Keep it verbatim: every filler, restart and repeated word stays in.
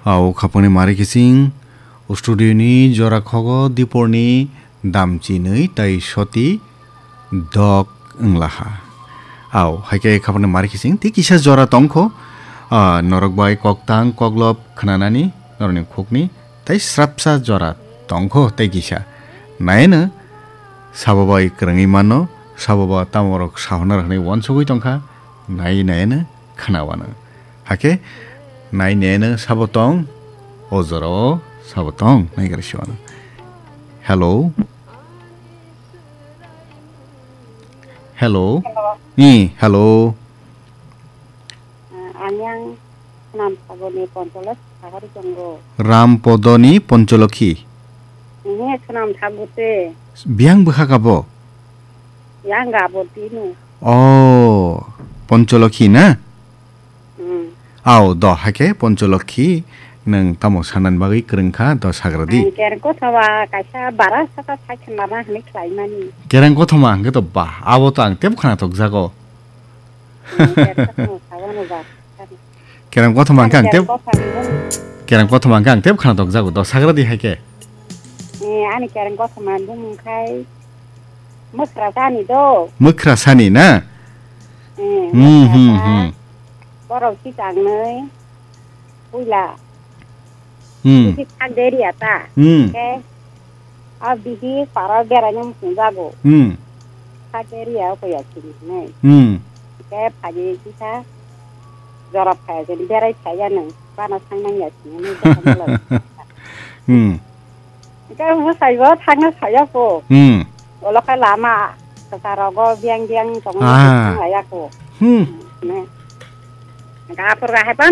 Au khapangni mari kising, studio ni jora khogo diporni damchinwi tai soti dok wnglaha. Au, haikhe khapangni mari kising, tei kisa jora tongkho, ah, norok bai koktang koklop khnanani, norokni khukni, tai srapsa jora tongkho, tai kisa. Naino, sabo bai kwrwngwi mano, sabo ba tamorok sahona rwkhnai uansugwi tongkha, nai naino khna uano. Hakhe nai neno sabo tong, o jorao sabo tong, nai gari siwano. Hello? Hello? Hello. Ni, hello? Ah, ang yang Snam Sagoni Poncholok Sagori tongo. Ram Podoni Poncholokhi? Ini Snam Sagute. Biang bwkha kabo? Yang gabo tinu. Oh, Poncholokhi na? Hmm. Au, do, haikhe Poncholokhi, nwng tamo sanani bagwi kwrwngkha, do sagra di. Ang kereng kothoma kaisa bara saka sai khna ma hwnwi khlaimani. Kereng kothoma hwnkhe to ba, abo to ang tebo khna tokjago. Hmm, kereng kothoma sabo no ba. Kereng kothoma hwnkhe ang tebo, kereng kothoma hwnkhe ang tebo khna tokjago, do sagra di haikhe. Eh, ani kereng kothoma bumung khai mwkhra sani do. Mwkhra sani na? Eh, hmm, mwkhra hmm, sa. Hmm. Borok si tangnwi puila. Hmm. Bisi thak deri ata. Hmm. Ke, a bisi para berai nang sung jago. Hmm. Thak deri ya ko ya sini nai. Hmm. Ke phaji sisa jora phai jeni berai phai ya nang. Bana sang nang ya sini nai. Hmm. Hwnkhe ang bwsaibo thangna saya kho. Hmm. Olo khe lama kwcharo go biang biang tongo, ah, thang laya kho. Hmm. Ne. Hwnkhe aphuru hai phano